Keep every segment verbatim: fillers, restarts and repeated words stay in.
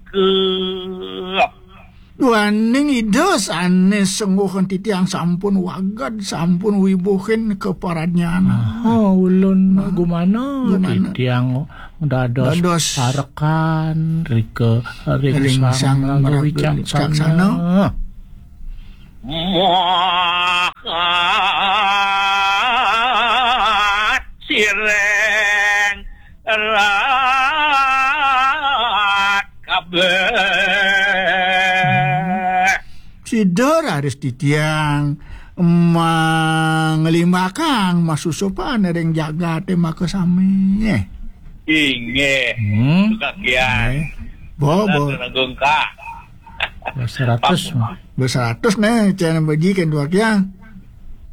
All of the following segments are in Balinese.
Cakep. Duaning Ida sané sengguhing titiang sampun wagéd, sampun wibuhin kaparadnyanan. Oh, ulun gumana, gumana? Titiang dados, dados parekan ring, ring Sang Maraga Wicaksana. Muahat sireng rat kabéh. Sida raris titiang manglimbakang masusupan ring jagaté makasami. Inggih. Hmm. Tukakian. Inggih. Bo, bo. Nanggung ka. Bo seratus. Bo seratus né, cén baji kén Tukakian.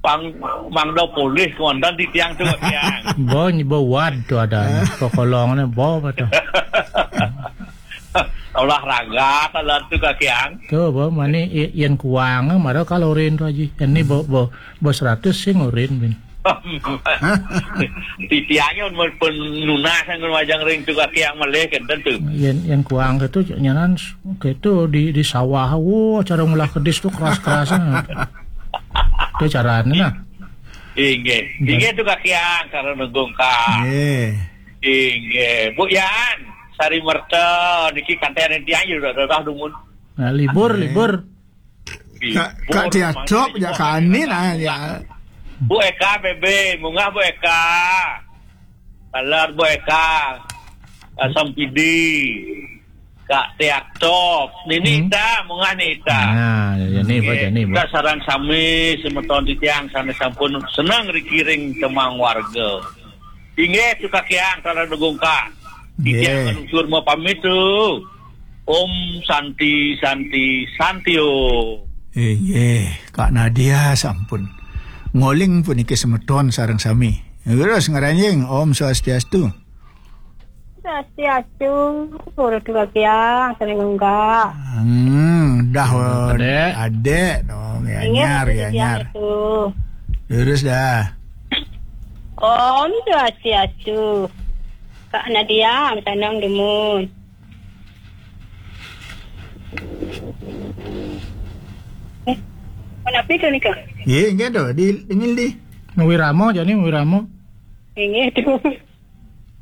Pang mangda polih kawéntenan titiang Tukakian. Bo, nyi bo wad to ada. Kokolongné bo apa to? Olahraga kalau Tukakian. To bo, mani yén kuang mara kalorin to aji. Ini bo, bo, bo seratus sing urin bin. Titiangnya pun nunas yang wajang ring Tukakian malih kenten to. Yén, yén kuang kéto nyanan kéto di, di sawah. Wah, cara ngolah kedis to keras-kerasan. To carané nah. Inggih. Inggih Tukakian, cara nanggung ka. Inggih. Inggih. Bu Yan, Sari Merta, niki kanten titiang ya udah, udah dumun. Nah, libur, libur. Kak, Kak Diadop, ya, kani, nah, ya. Bu Eka, B B, munggah Bu Eka. Kalar Bu Eka. Asam Pidi. Kak Diadop. Nini ta, munggah Nita. Nah, ya, ni, Bu, ya, ni, Bu. Kita sareng sami semeton titiang sané sampun seneng rikiring tembang warga. Inggih, Tukakian, sareng nanggung ka. Titiang manutur mapamit to. Om Santi, Santi, Santi Om. Inggih, Kak Nadia sampun ngoling puniki semeton sareng sami. Terus ngranjing, Om Swastiastu. Swastiastu, Guru Tukakian, sareng nanggung ka. Hmm, dah, Adék. Adék, dong, ya, inggih, nyar, ya, Tukakian, nyar. Terus dah. Om Swastiastu. Kak Nadia, sareng dumun. Eh, menapi to nika? Nggih, nggih to, di, dingin di. Wirama jani, wirama. Nggih to.